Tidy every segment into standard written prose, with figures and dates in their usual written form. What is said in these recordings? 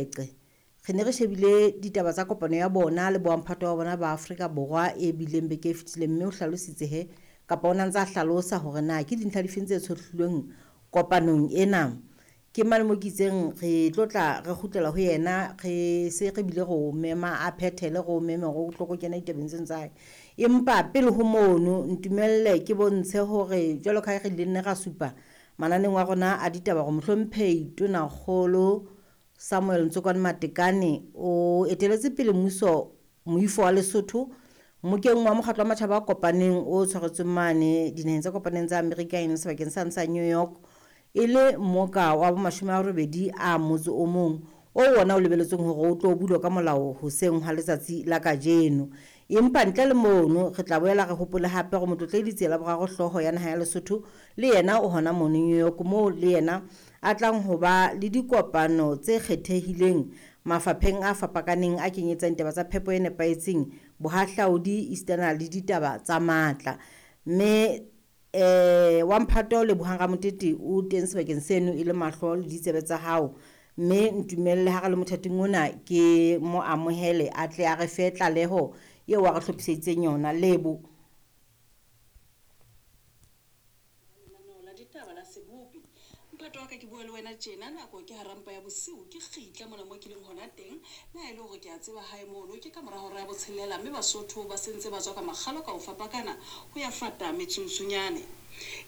Qe. Re ne re shebile ditaba tsa kopano ya bona le bomphato wa bona ba Afrika Borwa e bileng beke e fetileng, mme o hlalositse he kapa o na ntse a hlalosa hore na ke dintlha difeng tse tshohlilweng kopanong ena. Ke mane mo ke itseng re tlo tla re kgutlela ho yena, re se re bile re o mema a phethele, re o meme hore o tlo ko kena ditabeng tseno tsa hae. Empa pele ho mono ntumelle ke bontshe hore jwalo ka ha re ile nne ra supa mananeng wa rona a ditaba hore mohlomphehi Tonakgolo Samuel Ntsokwane Matekane o eteletse pele mmuso moifo wa Lesotho mmokeng wa mokgatlo wa matjhaba a kopaneng o tshwaretsweng mane dinaheng tse kopaneng tsa Amerika, e leng sebakeng sane sa New York, e le mmoka wa bo 80 a motse o mong o wona o lebeletsweng hore o tlo bulwa ka molao hoseng hwa letsatsi la kajeno. Empa ntle le mono re tla boela re hopole hape hore Motlotlehi Letsela Boraro, hlooho ya naha ya Lesotho, le yena o hona mono New York, moo le yena a tlang ho ba le dikopano tse kgethehileng mafapheng a fapakaneng a kenyetsang ditaba tsa phepo e nepahetseng, bohahlaudi, esitana le ditaba tsa matla. Mme wa mphato Lebohang Ramotete o teng sebakeng seno e le mahlo le ditsebe tsa hao, mme ntumelle ha re le mothating ona ke mo amohele a tle a re fe tlaleho eo a re hlophiseditseng yona. Lebo. Lenaneo la ditaba la sebopi. Mphato wa ka, ke bua le wena tjena, nako ke hara mpa ya bosiu, ke kgitla mona mo ke leng hona teng. Le ha e le hore ke a tseba hae mono ke ka mora hora ya botshelela, mme Basotho ba sentse ba tswa ka makgalo ka ho fapakana ho ya fata metsuntsunyane.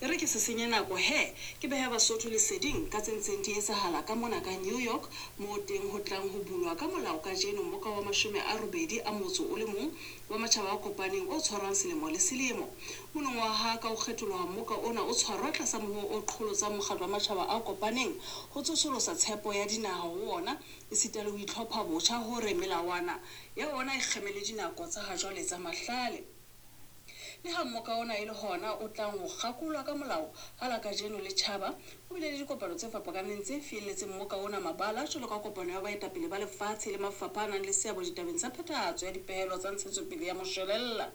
E re ke se senye nako he, ke behe Basotho leseding ka tse ntseng di etsahala ka mona ka New York, moo teng ho tlang ho bulwa ka molao kajeno mmoka wa 80 a motso o le mong wa matjhaba a kopaneng o tshwarwang selemo le selemo. Monongwaha ka ho kgetholoha mmoka ona o tshwarwa tlasa mohoo o qholotsang mokgatlo wa matjhaba a kopaneng ho tsosolosa tshepo ya dinaha ho ona, esita le ho itlhopha botjha hore melawana ya ona e kgeme le dinako tsa hajwale tsa mahlale. Le ha mmoka ona e le hona o tlang ho kgakolwa ka molao ha la kajeno le tjhaba, ho bile le dikopano tse fapakaneng tse fielletseng mmoka ona mabala, jwalo ka kopano ya baetapele ba lefatshe le mafapha a nang le seabo ditabeng tsa phethahatso ya dipehelo tsa ntshetsopele ya moshwelella.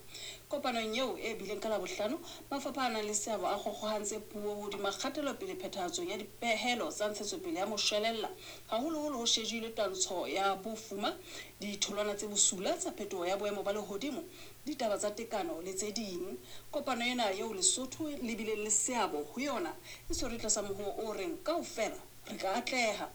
Kopanong eo e bileng ka Labohlano, mafapha a nang le seabo a kgokgohantse puo hodima kgatelopele phethahatsong ya dipehelo tsa ntshetsopele ya moshwelella, haholoholo ho shejilwe twantsho ya bofuma, ditholwana tse bosula tsa phetoho ya boemo ba lehodimo, ditaba tsa tekano le tse ding. Kopano ena eo Lesotho le bileng le seabo ho yona e tshwerwe tlasa mohoo o reng kaofela re ka atleha.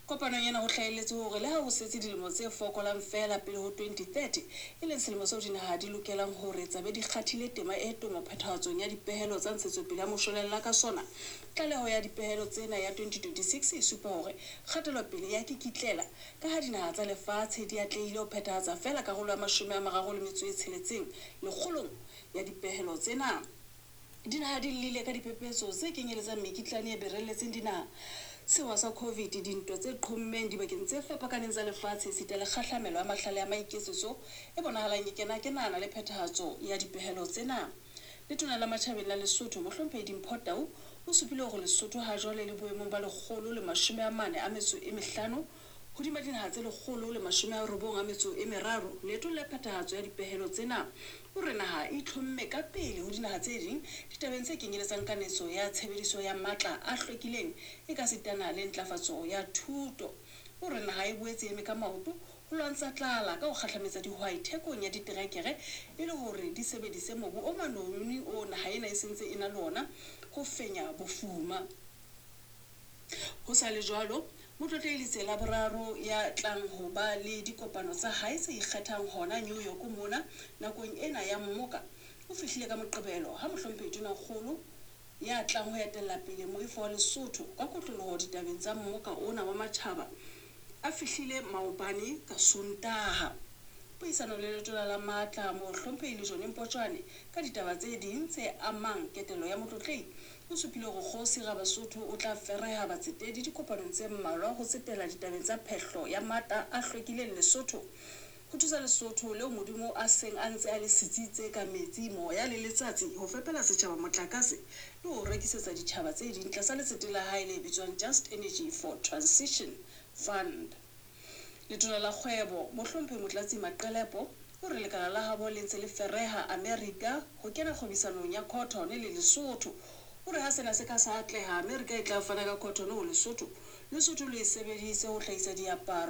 Kopanong ena ho hlahelletse hore le ha ho setse dilemo tse fokolang feela pele ho 2030, e leng selemo seo dinaha di lokelang hore tsa be di kgathile tema e tomo phethahatsong ya dipehelo tsa ntshetsopele ya moshwelella ka sona, tlaleho ya dipehelo tsena ya 2026 e supa hore kgatelopele ya kikitlela, ka ha dinaha tsa lefatshe di atlehile ho phethahatsa feela karolo ya 36 lekgolong ya dipehelo tsena. Dinaha di llile ka diphephetso tse kenyeletsang mekitlane e berelletseng dinaha, sewa sa COVID, dintwa tse qhommeng dibakeng tse fapakaneng tsa lefatshe, esita le kgahlamelo ya mahlale a maiketsetso e bonahalang e kena-kenana le phethahatso ya dipehelo tsena. Letona la Matjhabeng la Lesotho, Mohlomphehi Dimpho Tau, o supile hore Lesotho hajwale le boemong ba 145 hodima dinaha tse 193 leetong la phethahatso ya dipehelo tsena. O re naha e itlhomme ka pele ho dinaha tse ding ditabeng tse kenyeletsang kanetso ya tshebediso ya matla a hlwekileng ekasitana le ntlafatso ya thuto. O re naha e boetse e eme ka maoto ho lwantsha tlala ka ho kgahlametsa dihwai thekong ya diterekere e le hore di sebedise mobu o manoni oo naha ena e sentse e na le ona ho fenya bofuma. Ho sa le jwalo, Motlotlehi Letsela Boraro ya tlang ho ba le dikopano tsa hae tse ikgethang hona New York mona nakong ena ya mmoka, o fihlile ka Moqebelo ha Mohlomphehi Tonakgolo ya tlang ho etella pele moifo wa Lesotho ka kotloloho ditabeng tsa mmoka ona wa matjhaba a fihlile maobane ka Sontaha. Puisanong le Letona la Matla, Mohlomphehi Lejone Mpotjwane, ka ditaba tse ding tse amang ketelo ya Motlotlehi, o supile hore Kgosi Rabasotho o tla fereha batsetedi dikopanong tse mmalwa ho tsetela ditabeng tsa phehlo ya matla a hlwekileng Lesotho, ho thusa Lesotho leo Modimo a seng a ntse a le sitsitse ka metsi, moya le letsatsi ho fepela setjhaba motlakase le ho o rekisetsa ditjhaba tse ding tlasa letsete la hae le bitswang Just Energy for Transition Fund. Letona la Kgwebo, Mohlomphehi Motlatsi Maqelepo, o re lekala la habo le ntse le fereha Amerika ho kena kgwebisanong ya cotton le Lesotho. O re ha sena se ka sa atleha, Amerika e tla fana ka cotton ho Lesotho Lesotho le e sebedise ho hlahisa diaparo.